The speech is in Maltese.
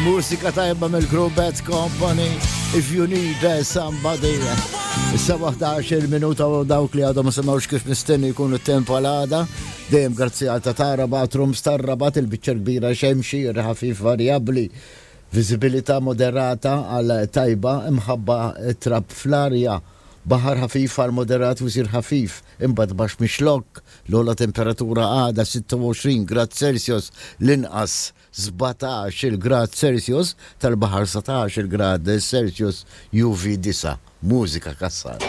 Mużika tajba mill-Group Bad Company, If You Need Somebody. Issa 11 minuta u dawk li għadhom ma semgħux kif mistenni jkunu t-temp għal għada. Dejjem grazzi għal Tatara Bathrooms tar-Rabat il-biċċa kbira xemxi, ħafif varjabbli. Viżibilità moderata għal tajba imħabba trab fl-arja. Baħar ħafif għal moderat u jsir ħafif, imbagħad baxx mix-Xlokk. L-ogħla temperatura għada 26 grad Celsius, l-inqas 17-il grad Celsius, tal-baħar 17-il grad Celsius, UV 9. Mużika Cassar.